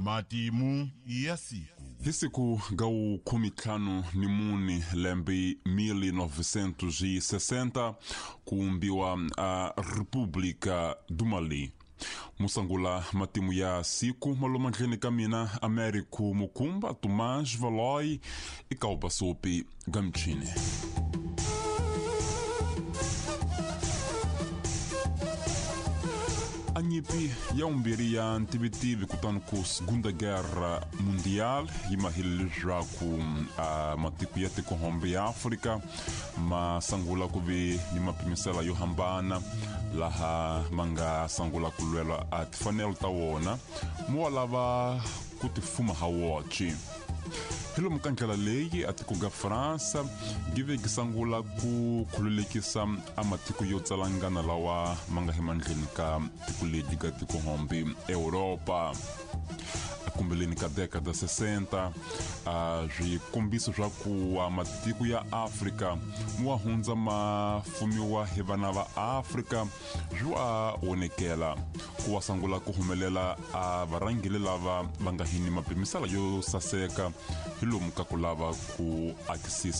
Matimu ya siku. Hi siku ga 54 lembe 1960 kuumbiwa a República do Mali. Musangula matimu ya siku malomandleni ka mina Américo Mukumba Tomás Valoi e Kalbasopi Gamchini. A nyipi ya umbiri ya ntivitivi kutani ku Segunda Guerra Mundial yi mahile leswaku a matiko ya tikohombe ya Afrika ma sangula ku ve ni mapimisela yo hambana laha ma nga sangula ku lwela a tifanelo ta wona mo wa lava ku tifuma ha woxe. Hi lomu ka ndlela leyi a tiko ga Fransa gi ve gi sangula ku khululekisa a matiko yo tsalangana lawa ma nga emandleni ka tiko ledi ga tikohombe Europa. Akumbeleni ka década 60 a swikombiso swa ku a matiko ya Afrika mo wa hundza ma fumiwa hi vana va Afrika swi wa vonekela ku wa sangula ku humelela a varhangeli lava va nga hini mapimisela yo saseka hi lomu ka ku lava ku akisisa.